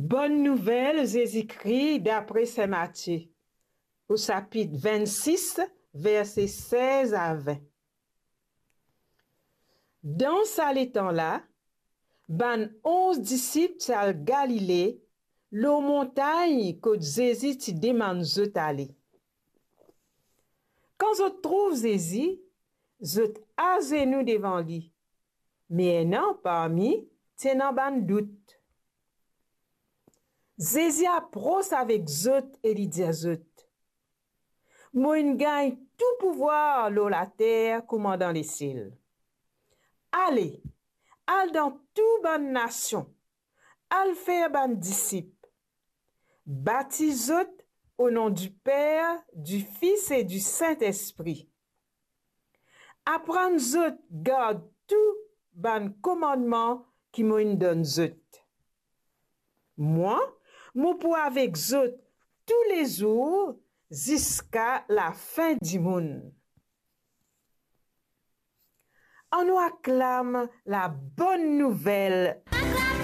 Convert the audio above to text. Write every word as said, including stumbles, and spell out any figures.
Bonn Nouvel Zezi Kri dapre Sin Matie, o sapit vennsis, verse sez a vin. Dan sa letan la, bann onz disip ti al Galile, lor montagn kot Zezi ti demann zot ale. Kan zot trouv Zezi, zot azenou devan li. Me ena parmi ti ena bann dout. Zezi apros avek zot e li dir zot, "Mo inn gagn tou pouvwar lor later kouma dan lesiel. Ale, al dan tou bann nasion, al fer bann disip. Batiz zot o non di Per, di Fis e di Sintespri. Aprann zot gard tou bann komannman ki mo inn donn zot. Mwa, mo pou avek zot toulezour ziska lafin dimoun." Annou aklam Labonn Nouvel